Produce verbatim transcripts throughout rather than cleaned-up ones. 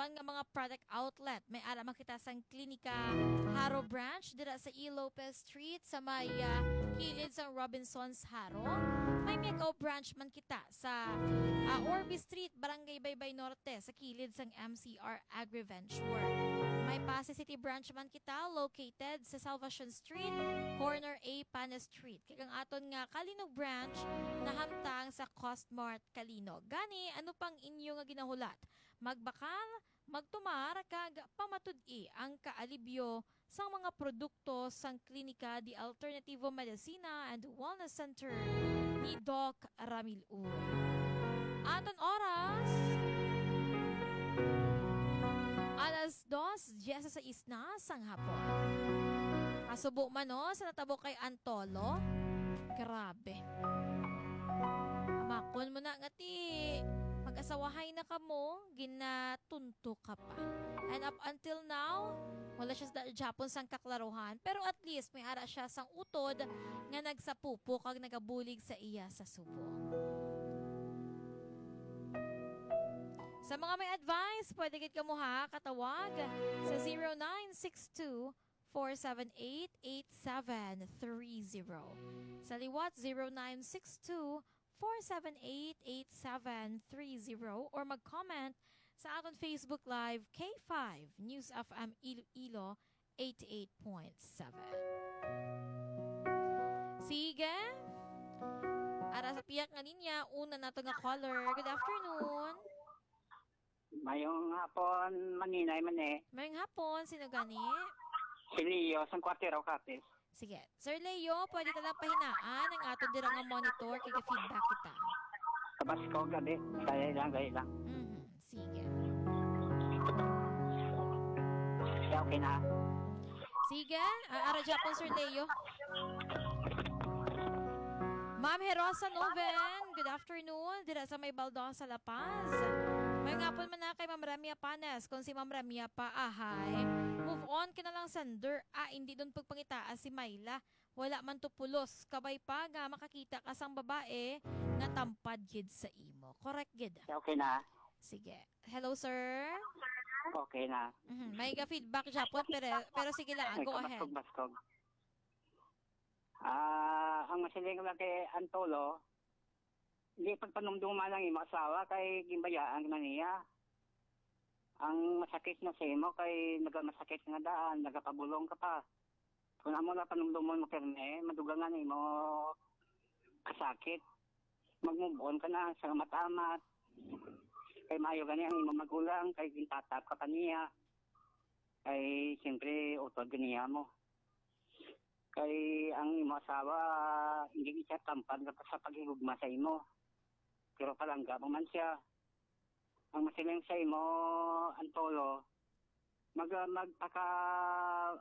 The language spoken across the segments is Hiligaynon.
Apan nga mga product outlet, may ara man kita sang Klinika Jaro Branch dira sa E. Lopez Street sa may, ah, kilid sang Robinsons Jaro. May Miagao Branch man kita sa, ah, Orbe Street, Barangay Baybay Norte, sa kilid sang M C R Agriventure. May Passi City Branch man kita located sa Salvacion Street, corner A Panes Street. Kag ang aton nga Calinog Branch nahamtang sa Costmart Calinog. Gani, ano pang inyo nga ginahulat? Magbakal, magtumar, kag pamatud-i ang kaalibyo sang mga produkto sang Klinika de Alternativo Medicina and Wellness Center ni Doc Ramil Uy. Aton oras, alas dos dieciséis na sang hapon. Kasubo man, no, sa natabo kay Antolo. Grabe. Makon mo na nga ti mag-asawahay na kamo, ginatunto ka pa. And up until now, wala siya sa gihapon sang kaklaruhan, pero at least may ara siya sang utod nga nagsapupo kag nagabulig sa iya sa subo. Sa mga may advice, pwede gid kamo, ha, katawag sa zero nine six two, four seven eight, eight seven three zero. Sa liwat, zero nine six two, four seven eight, eight seven three zero, or mag-comment sa aton Facebook Live, K five News F M Iloilo, eighty-eight point seven. Sige. Ara sa pihak nga linya, una nato nga caller. Good afternoon. Mayong hapon, Maninay man eh. Mayong hapon, sino gani? Si Leo, sang Cuartero, Capiz. Sige. Sir Leo, pwede ka lang pahinaan ang aton dira nga monitor kay feedback kita. Kabaskog, abi. Dali lang, dali lang. Mhm. Sige. Okay, okay na. Sige. Ah, ara dyan po, Sir Leo. Ma'am Herosa Noven, good afternoon. Dira sa may Baldosa, La Paz. May ngapon man na kay Ma'am Ramia Panes. Kung si Ma'am Ramia pa, ahay, move on ka na lang, sender. Ah, hindi doon pagpangitaa si Myla. Wala man to pulos. Kabay pa nga makakita ka sang babae nga tampad gid sa imo. Correct gid. Okay na. Sige. Hello, sir. Okay na. Mhm. May ga feedback siya po, pero, pero sige lang, go ahead. Baskog, baskog. Ah, ang masiling lang kay Antolo, hindi pagpanumduma lang imo asawa kay gimbayaan na niya. Ang masakit na sa imo kay nagamasakit nga daan, nagapabulong ka pa. Kung amo na panumdumon mo, pirme, madugangan imo kasakit. Mag-move on ka na sa amat-amat. Kay maayo gani ang imo magulang, kay gintatap ka pa niya. Kay siyempre, utod ganiya mo. Kay ang imo asawa, hindi siya tampad na sa paghigugma sa imo. Pero palangga mo man siya. Ang masiling sa imo, Antolo, mag-, magpaka-,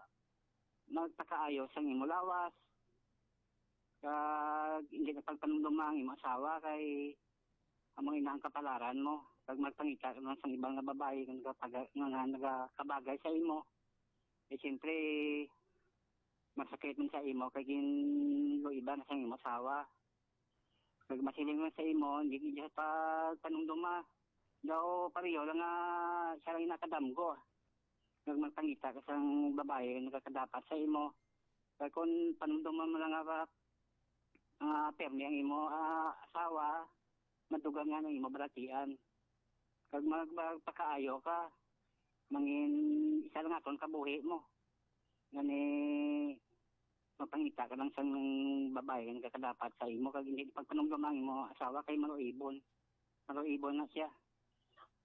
magpakaayo sang imo lawas. Kag hindi na pagpanumduma ang imo asawa kay amo ina ang kapalaran mo. Kag magpangita ka lang sang iba nga babayi nga nagapag-, nga, nga nagakabagay sa imo. Eh, siyempre, masakit man sa imo kay ginluiban na sang imo asawa. Kag masiling man sa imo, hindi gid siya pagpanumduma. Daw pareho lang nga siya lang nakadamgo. Kag magpangita ka sang babayi nga nakadapat sa imo. Kag kung panumduma mo lang nga, nga pirmi ang imo, ah, asawa, madugang nga ang imo balatian. Kag mag-, magpakaayo ka, mangin isa lang aton kabuhi mo. Gani, magpangita ka lang sang babayi nga nakadapat sa imo, kag hindi pagpanumduma ang imo asawa kay maluibon. Maluibon na siya.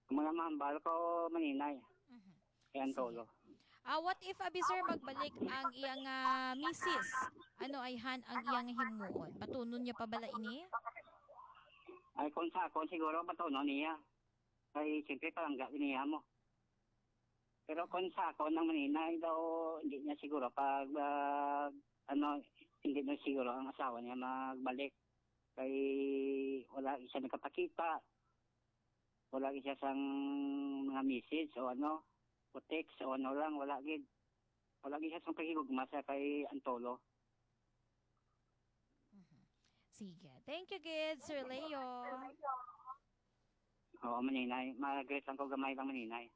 Mga mahambal ko, Maninay. Mhm. Kay Antolo. Sige. Ah, what if, abi, sir, magbalik ang iyang, ah, misis? Ano ayhan ang iyang himuon? Patunon niya pa bala ini? Ay, kung sa akon, siguro, patunon niya. Kay, siyempre, palangga niya mo. Pero kung sa akon, ang Maninay daw, hindi niya siguro pag, ah, ano, hindi na siguro ang asawa niya magbalik. Kay wala siya nagkapakita. Wala gid siya sang mga message o ano, o text o ano lang, wala gid. Wala gid siya sang paghigugma sa kay Antolo. Mhm. Sige. Thank you gid, Sir Leo. Oo, Maninay. Mag-greet lang ko gamay lang, Maninay.